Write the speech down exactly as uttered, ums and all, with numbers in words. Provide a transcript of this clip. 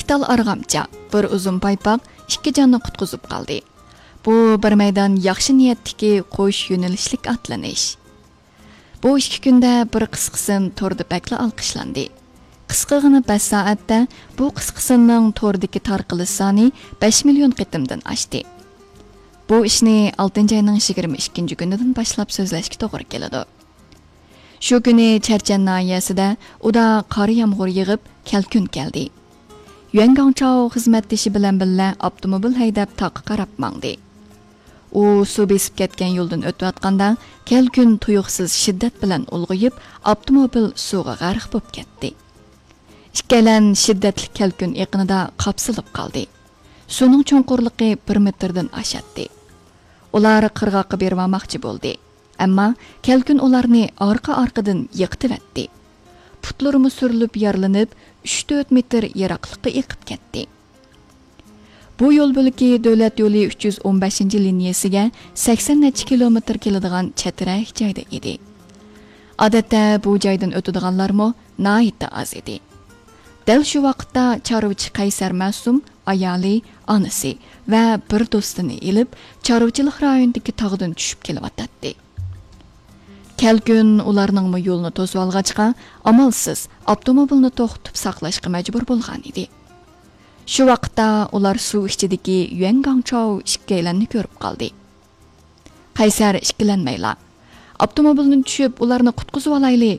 تال ئارغامچا، بىر ئۇزۇن پايپاق ئىككى جاننى قۇتقۇزۇپ قالدى. بۇ بىر مەيدان ياخشى نىيەتتىكى قوش يۆنىلىشلىك ئاتلىنىش. بۇ ئىككى كۈندە بىر قىسقا سىن توردا بەكلا ئالقىشلاندى. قىسقىغىنە بەش سائەتتە بۇ قىسقا سىننىڭ توردىكى تارقىلىش سانى بەش مىليون قېتىمدىن ئاشتى. بۇ ئىشنى ئالتىنچى ئاينىڭ يىگىرمە ئىككىنچى كۈنىدىن باشلاپ سۆزلەشكە توغرا كېلىدۇ. شۇ كۈنى چەرچەن ناھىيەسىدە ئۇدا قار يامغۇر يېغىپ، كەلكۈن كەلدى. يۈەن گاڭچاۋ خىزمەتدىشى بىلەن بىللە ئاپتوموبىل ھەيدەپ تاغقا قاراپ ماڭدى. ئۇ سۇ بېسىپ كەتكەن يولدىن ئۆتۈۋاتقاندا، كەلكۈن تۇيۇقسىز شىددەت بىلەن ئۇلغىيىپ، ئاپتوموبىل سۇغا غەرق بولۇپ كەتتى. ئىككىيلەن شىددەتلىك كەلكۈن ئېقىنىدا قاپسىلىپ قالدى. سۇنىڭ چوڭقۇرلۇقى بىر مېتىردىن ئاشاتتى. ئۇلار قىرغاققا بېرىۋالماقچى بولدى. ئەمما كەلكۈن ئۇلارنى ئارقا-ئارقىدىن يىقىتىۋەتتى. پۇتلىرىمۇ سۈرۈلۈپ يارىلىنىپ، ئۈچ تۆت مېتىر يىراقلىققا ئېقىپ كەتتى. بۇ يول بۆلىكى دۆلەت يولى ئۈچ يۈز ئون بەشىنچى لىنىيەسىگە سەكسەن نەچچە كىلومېتىر كېلىدىغان چەترەك جايدا ئىدى. ئادەتتە بۇ جايدىن ئۆتىدىغانلارمۇ ناھايىتى ئاز ئىدى. دەل شۇ ۋاقىتتا چارۋىچى قەيسەر مەسۇم، ئايالى، ئانىسى ۋە بىر دوستىنى ئېلىپ، چارۋىچىلىق رايونىدىكى تاغدىن چۈشۈپ كېلىۋاتاتتى. كەلكۈن ئۇلارنىڭمۇ يولىنى توسۇۋالغاچقا، ئامالسىز ئاپتوموبىلنى توختىتىپ ساقلاشقا مەجبۇر بولغان ئىدى. شۇ ۋاقىتتا ئۇلار سۇ ئىچىدىكى يۈەن گاڭچاۋ ئىككىيلەننى كۆرۈپ قالدى. قەيسەر ئىككىلەنمەيلا، «ئاپتوموبىلدىن چۈشۈپ، ئۇلارنى قۇتقۇزۇۋالايلى»